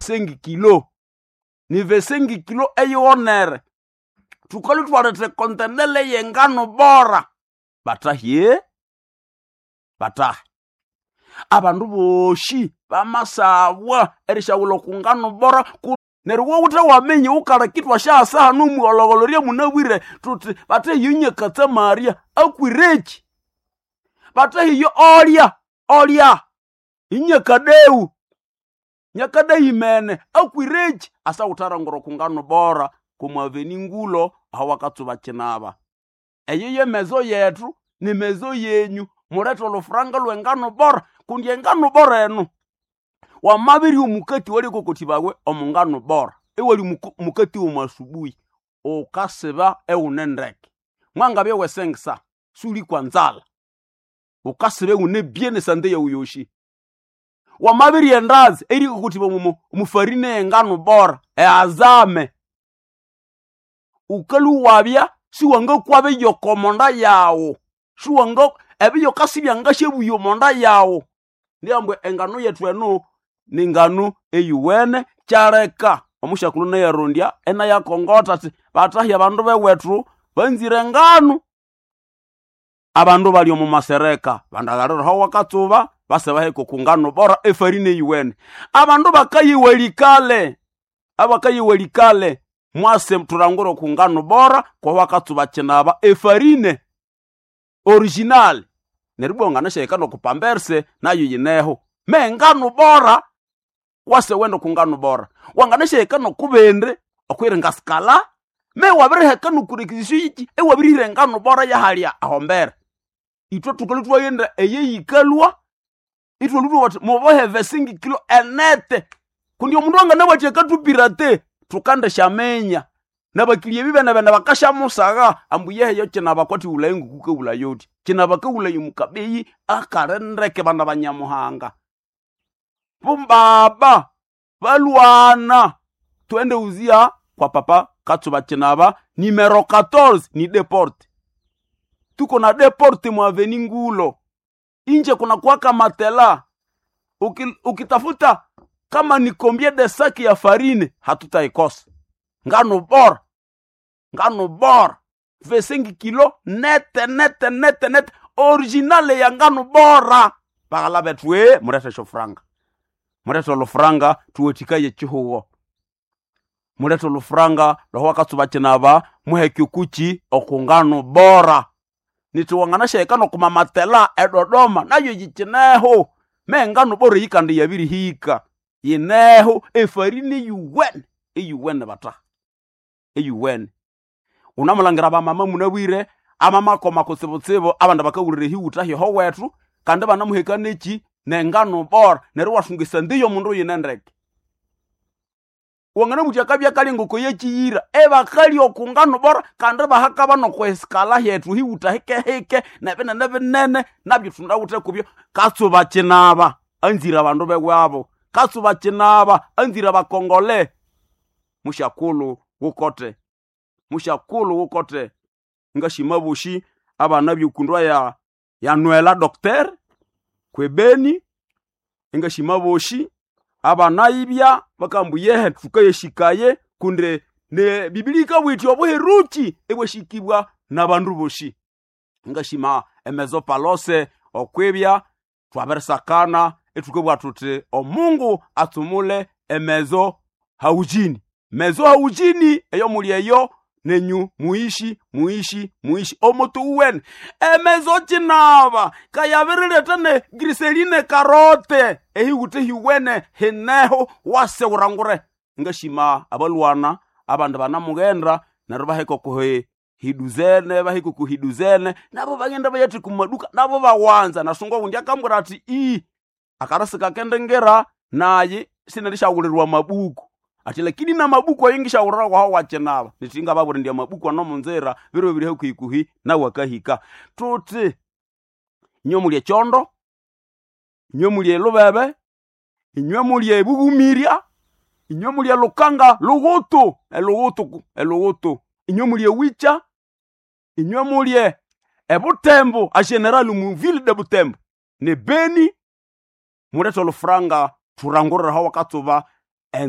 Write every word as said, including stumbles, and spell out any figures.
sengi kilo ni vesengi kilo eyionere tukali twalete kontenele yengano bora batahye batahe abandu boshi bamasabwa erishawula okungano bora neryo wowuthe waminya wukala kitwa syasaha nomuhologolo munabwire tuti batehiyo nyakatsamaria akwireki batehiyo olya olya inyakadeu nyakadeu imene akwireki asawutharangura okungano bora kumwaveni ngulo aho wakatsuba kinaba eyo yemezo yethu ni mezo yenyu mulethe olufuranga lw'engano bora kundi engano bora eno wamabiri omukati walikokoti bawe omungano bora ewali mukati womwasubuhi ukasiba ewune ndeke mwangabye wesengisa suli kwa nzala ukasiba ewune bien sante yawu yoshi wamabiri endazi erikokoti mumu mufarine engano bora eazame ukalu wabya siwangakwabe yokomonda yawu siwanga ebiyokasibya ngasyebuya omonda yawu ndiambwe engano yethu eno ningano eyuwene kyaleka omusyakulu neyarondya enayakongotha ati batahya abandu bewethu banzire engano abandu bali omu masereka bandaghaliraho wakatsuba base baheka oku ngano bora efarine eyuwene abandu bakayiwalikale abakayiwalikale mwase thulangire oku ngano bora kwawakatsuba kinaba efarine original neryo ibwa wanganashahika nokupamberse nayo yineho me ngano bora wase wenda oku ngano bora wanganashahika nokubindi okwiringa sikala me wabiriheka nokurekizisyo yiki ewabirihira engano bora yahalya ahombere ithwe thukalwa thwaghenda eyeyikalwa ithwalwa thwati mubohe vesingi kilo enete kundi omundu anganabwati akatupirate thukandisyaminya nabakilya ebibenebene bakasyamusagha ambu yeheyo kinaba kwati wulayi ngukukawulaya uthi kinaba kawulaya omukabeyi akalindeke bana banyamuhanga bumbaba balwana twende uzia kwa papa katsuba kinaba nimero quatorze ni deporte tuko na deporte mwaveni ngulo inje kuna kwaka matela Uki, ukitafuta kama ni combien de saki ya farine hatutaikosa ngano bora ngano bora vesengi kilo nete nete nete nete originale ya ngano bora baghala bethu e murethe shofuranga murethe olufuranga tuwethikaye chihugo mulethe olufuranga lwahu wakatsuba kinaba muheke okuki okungano bora nithiwanganashahika nokumamatela edodoma nayo yikineho mengano bora yikandi yabirihika yineho efarini yuwene eyuwene bata eyuwene unamulangira bamama munabwire amamakoma kutsibutsibu abandu bakawulira ehiwuta hyoho wethu kandi banamuheka neki nengano bora neryo wathungisa ndiyo mundu yine ndeke wanganamuthi akabya kali ngoko yekiyira ebakali okungano bora kandi bahakaba nokwesikala hyethu hiwuta hikehike nebinene binene nabyo thundawuthe kubyo katsuba kinaba anzire abandu bewabo katsuba kinaba anzire abakongole musyakulu wukote musyakulu wukote ngashima boshi abana byukundwa ya ya nwela docteur kwebeni engashima boshi abana ibya bakambu yehe tukayeshikaye kunde ne biblia ikabwiti obuheruki ebweshikibwa n'abandu boshi ngashima emezo palose okwibya twabirisakana ethukabwa thuthi omungu atsumule emezo haujini mezo haujini eyo muli eyo nenyu muishi muishi muishi omutu uwene emezo kinaba kayabirileta ne griseline karote ehiwute hiwene hineho wase urangure ngashima abalwana abandu banamughenda neryo bahika okuhi hiduzene bahika okuhiduzene nabo bagenda bayathi kumaduka nabo bawanza nasunga wundi akambwira ati ii akarasi kakendengera naye sinalishawulirwa mabuku ati lakini na mabuku ayo ngishawulira kwaho wakinaba nitinga baburi ndya mabuku ano munzira biro biri hakuhikuhi nawe akahika tuti inywe mulye kyondo inywe mulye elubebe inywe mulye ebugumirya inywe mulye lukanga lughutu elughutu elughutu inywe mulye wicha inywe mulye ebutembo a general mu ville de butembo ne beni mulethe olufuranga thurangurira hawa katsuba